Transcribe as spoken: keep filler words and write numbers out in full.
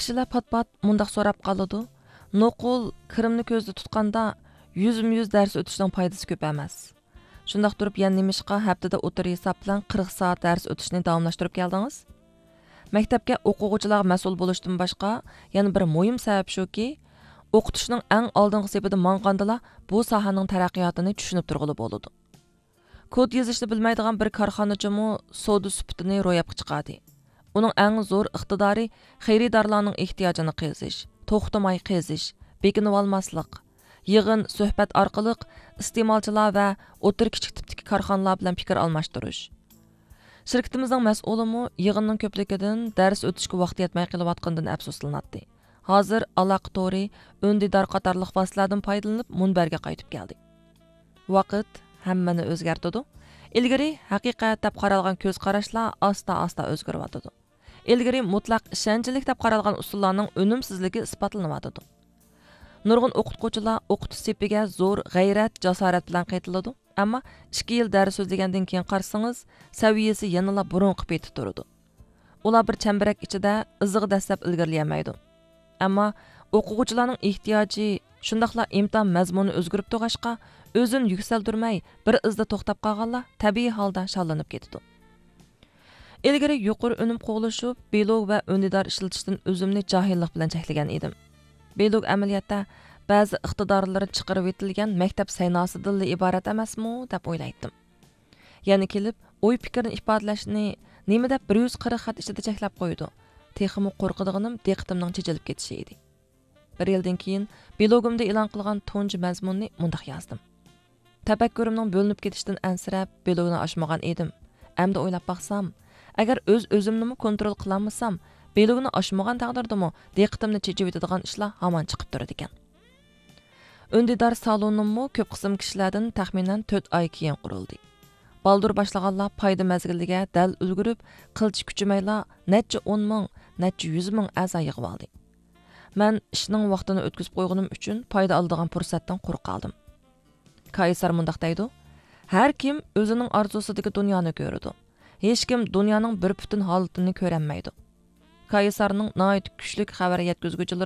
كىشىلەر پات-پات مۇنداق سوراپ قالىدۇ، نوقۇل، كىرىمنى كۆزدە تۇتقاندا، يۈزمۇ يۈز دەرس ئۆتۈشنىڭ پايدىسى كۆپ ئەمەس. شۇنداق تۇرۇپ يەنە نېمىشقا ھەپتىدە ئوتتۇرا ھېساب بىلەن قىرىق سائەت دەرس ئۆتۈشنى داۋاملاشتۇرۇپ كەلدىڭىز؟ مەكتەپكە ئوقۇغۇچىلارغا مەسئۇل بولۇشتىن باشقا يەنە بىر مۇھىم سەۋەب شۇكى، ئوقۇتۇشنىڭ ئەڭ ئالدىنقى سېپىدا ماڭغاندىلا بۇ ساھەنىڭ تەرەققىياتىنى چۈشىنىپ تۇرغىلى بولىدۇ. كود يېزىشنى بىلمەيدىغان بىر كارخانىچىمۇ سودا سۈپىتىنى روياپقا چىقاردى. ئۇنىڭ ئەڭ زور ئىقتىدارى خېرىدارلارنىڭ ئېھتىياجىنى قېزىش، توختىماي قېزىش، بېكىنىۋالماسلىق، يىغىن، سۆھبەت ئارقىلىق ئىستېمالچىلار ۋە ئوتتۇرا، كىچىك تىپتىكى كارخانىلار بىلەن پىكىر ئالماشتۇرۇش. شىركىتىمىزنىڭ مەسئۇلىمۇ يىغىننىڭ كۆپلۈكىدىن دەرس ئۆتۈشكە ۋاقتى يەتمەي قېلىۋاتقىنىدىن ئەپسۇسلىناتتى. ھازىر ئالاقە تورى، ئۈندىدار قاتارلىق ۋاسىتىلەردىن پايدىلىنىپ مۇنبەرگە قايتىپ كەلدى. ۋاقىت ھەممىنى ئۆزگەرتىدۇ. ئىلگىرى ھەقىقەت دەپ قارالغان كۆز قاراشلار ئاستا-ئاستا ئۆزگىرىۋاتىدۇ. ئىلگىرى مۇتلەق ئىشەنچلىك دەپ قارالغان ئۇسۇللارنىڭ ئۈنۈمسىزلىكى ئىسپاتلىنىۋاتىدۇ. نۇرغۇن ئوقۇتقۇچىلار ئوقۇتۇش سېپىگە زور غەيرەت، جاسارەت بىلەن قېتىلىدۇ، ئەمما ئىككى يىل دەرس سۆزلىگەندىن كېيىن قارىسىڭىز، سەۋىيەسى يەنىلا بۇرۇنقى پېتى تۇرىدۇ. ئۇلار بىر چەمبىرەك ئىچىدە ئىزىغا دەسسەپ ئىلگىرىلىيەلمەيدۇ. ئەمما ئوقۇغۇچىلارنىڭ ئېھتىياجى، شۇنداقلا ئىمتىھان مەزمۇنى ئۆزگىرىپ تۇرغاچقا، ئۆزىنى يۈكسەلدۈرمەي، بىر ئىزدا توختاپ قالغانلار تەبىئىي ھالدا شاللىنىپ كېتىدۇ. ئىلگىرى يۇقىرى ئۈنۈم قوغلىشىپ، بىلوگ ۋە ئۈندىدار ئىشلىتىشتىن ئۆزۈمنى جاھىللىق بىلەن چەكلىگەن ئىدىم. بىلوگ ئەمەلىيەتتە بەزى ئىقتىدارلىرى چىقىرىۋېتىلگەن مەكتەپ سەيناسىدىنلا ئىبارەت ئەمەسمۇ، دەپ ئويلايتتىم. يەنە كېلىپ، ئوي پىكىرنى ئىپادىلەشنى نېمە دەپ بىر يۈز قىرىق خەت ئىچىدە چەكلەپ قويىدۇ؟ تېخىمۇ قورقىدىغىنىم دىققىتىمنىڭ چېچىلىپ كېتىشى ئىدى. بىر يىلدىن كېيىن بىلوگۇمدا ئېلان قىلغان تۇنجى مەزمۇننى مۇنداق يازدىم. تەپەككۇرۇمنىڭ بۆلۈنۈپ كېتىشىدىن ئەنسىرەپ، بىلوگنى ئاچمىغان ئىدىم. ئەمدى ئويلاپ باقسام، ئەگەر ئۆز-ئۆزۈمنىمۇ كونترول قىلالمىسام، بىلوگنى ئاچمىغان تەقدىردىمۇ دىققىتىمنى چېچىۋېتىدىغان ئىشلار ھامان چىقىپ تۇرىدىكەن. ئۈندىدار سالونۇممۇ كۆپ قىسىم كىشىلەردىن تەخمىنەن تۆت ئاي كېيىن قۇرۇلدى. بالدۇر باشلىغانلار پايدا مەزگىلىگە دەل ئۈلگۈرۈپ، قىلچە كۈچىمەيلا نەچچە ئون مىڭ، نەچچە يۈز مىڭ ئەزا يىغىۋالدى. مەن ئىشنىڭ ۋاقتىنى ئۆتكۈزۈپ قويغىنىم ئۈچۈن پايدا ئالىدىغان پۇرسەتتىن قۇرۇق قالدىم. كايسار مۇنداق دەيدۇ، ھەر كىم ئۆزىنىڭ ئارزۇسىدىكى دۇنيانى كۆرىدۇ. ھېچكىم دۇنيانىڭ بىر پۈتۈن ھالىتىنى كۆرەلمەيدۇ. كايسارنىڭ ناھايىتى كۈچلۈك خەۋەر يەتكۈزگۈچىلىرى